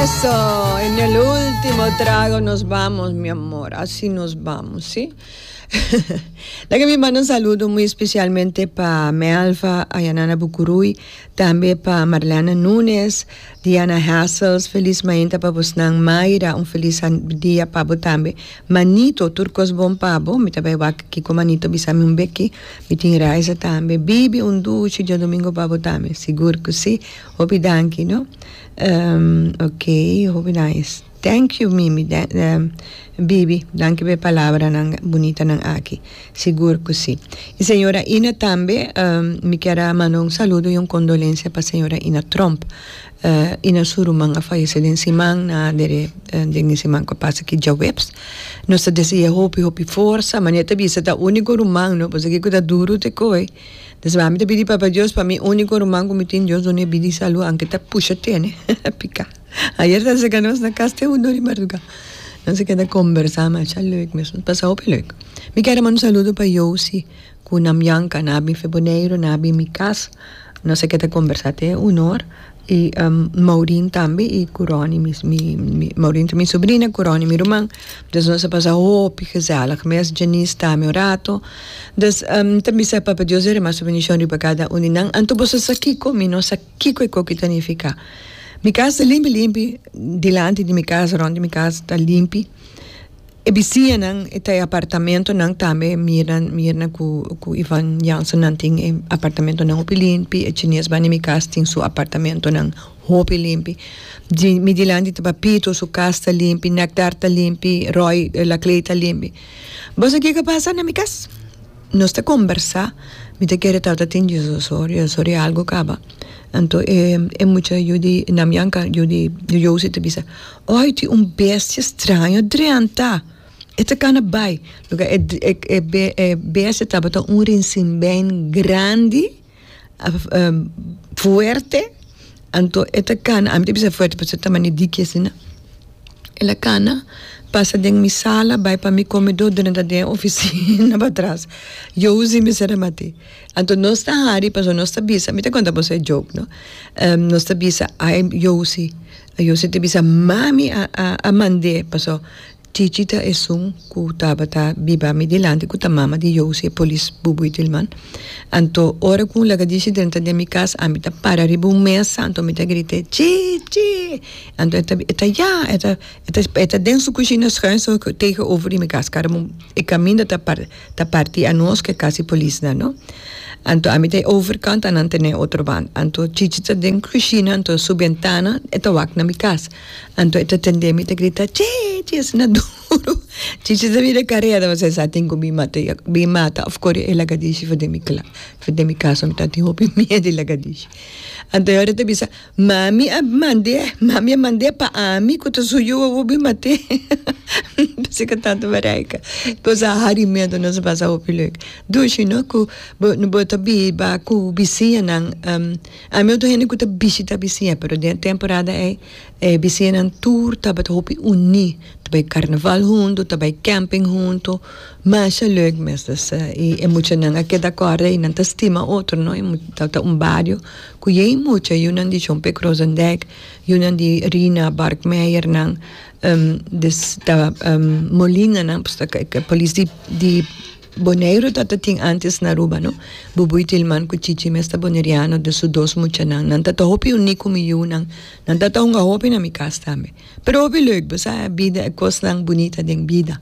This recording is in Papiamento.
Eso, en el último trago nos vamos, mi amor. Así nos vamos, ¿sí? Laga mi manda un saludo muy especialmente pa Melva Ayanana Bucuruy, tambe pa Marlene Nunes, Diana Hassels, feliz mainta pa bosnan, Mayra, un feliz dia pa bo tambe, Manito, tur kos bon pa bo, mi ta bai wak kiko Manito bisa mi un beki, mi tin Raiza tambe, Bibi, un dushi djadomingo pa bo tambe, sigur ku si, hopi danki no, ok, hopi nice. Thank you Mimi, Bibi, danki pa e palabranan bunitanan aki. Sigur ku si. I señora Ina tambe, mi kier a manda un saludo i un kondolensia pa señora Ina Tromp. Ina su ruman a fayesé den siman, na dere den e siman ku a pasa aki djaweps. Nos ta dese'é hopi hopi forsa, manera ta bisa ta úniko ruman no, pasobra kiko ta duru te koe. Des mi ta pidi Papa Dios pa mi úniko ruman ku mi tin, Dios dun'é bida i salú, anke ta pusha tene piká. Ayer ta seka nos na kas te un or di marduga. Nos a keda kombersá masha leuk mes. Nos pasa hopi leuk. Mi kere manda un saludo pa Josie ku Namyanka. Nan a bin fe Boneiru, nan a bin mi kas. Nos a keda kombersá te un or. I Maureen tambe i ku Ronnie mi mi Maureen ta mi sobrina ku Ronnie mi ruman. Dus nos a pasa hopi gezellig mes. Janice tambe un rato. Dus mi ta bisa Papa Dios derama su bendishon riba kada un di nan. Anto boso sa kiko? Mi no sa kiko e koki ta nifiká. Mi kas ta limpi limpi, dilanti di mi kas, rònt di mi kas ta limpi. E bisiñanan e ta e apartamentonan tambe Mirna Mirna ku ku Ivan Jansen nan tin e apartamentonan hopi limpi, e chines banda di mi kas tin su apartamentonan hopi limpi. Di mi dilanti ta Papito su kas ta limpi, Nectar ta limpi, Roy Laclay ta limpi. Bo sa kiko a pasa na mi kas? Nos ta kombersá, mi ta kere tabata tin diesdos or, diesdos or i algu kaba. Anto e e mucha yu di Namyanka, yu di Josie ta bisa, Oi, tin un bestia straño drenta! E ta kana bai. Loke e e e e bestia tabata un rinsinbein grandi, fuerte, anto e ta kana, ami ta bisa fuerte pasobra e ta mane diki asina. El a kana pasa den mi sala bai pa mi komedó drenta den e ofisina patras. Josie mester a mat'é. Anto nos ta hari pasobra nos ta bisa, mi ta konta boso e joke no, nos ta bisa ai Josie, Josie ta bisa mami a a mand'é pasobra Chichi ta esun ku tabata biba mi dilanti ku ta mama di Josie e polis Bubu Itilman. Anto ora ku un lagadishi drenta den mi kas ami ta para riba un mesa anto mi ta grit'é Chichi! Anto e ta e ta ya e ta e ta e ta den su kushina schuin so tegenover di mi kas kara e kaminda ta par ta parti anos ku e kas di polisnan no. Anto ami ta e overkant anan ta na e otro banda. Anto Chichi ta den kushina anto su bentana e ta wak na mi kas. Anto e ta tende mi ta grita Chichi asina duru. Chichi ta bira kareda pasobra e sa tin ku bin mata bin mata òf kore e lagadishi for den mi kla for den mi kas mi ta tin hopi miedu di lagadishi. Anto e ora e ta bisa Mami a mand'é, mami a mand'é pa ami ku ta su yu awor bin mat'é. P'esei ku tantu Marijke nos a hari miedu nos a pasa hopi leuk. Dushi no ku bo bo ta biba ku bisiñanan ami otro hende ku ta bishita bisiña pero den e temporada ei e bisiñanan tur tabata hopi uní ta bai karnaval huntu ta bai camping huntu masha leuk mes dus i e muchanan a keda kòrda i nan ta stima otro no ta un bario. Ku yei mucha yunan di John P. Krozendijk, yunan di Rina Barkmeijernan, des ta Molinanan, pues ta polis di di Boneiru ta ta tin antes na Aruba no, Bubui Tilman ku Chichi mes ta boneriano des su dos muchanan, nan ta ta hopi uní ku mi yunan, nan ta ta hunga hopi na mi kas tambe. Pero hopi leuk, bo sa bida e kosnan bunita den bida.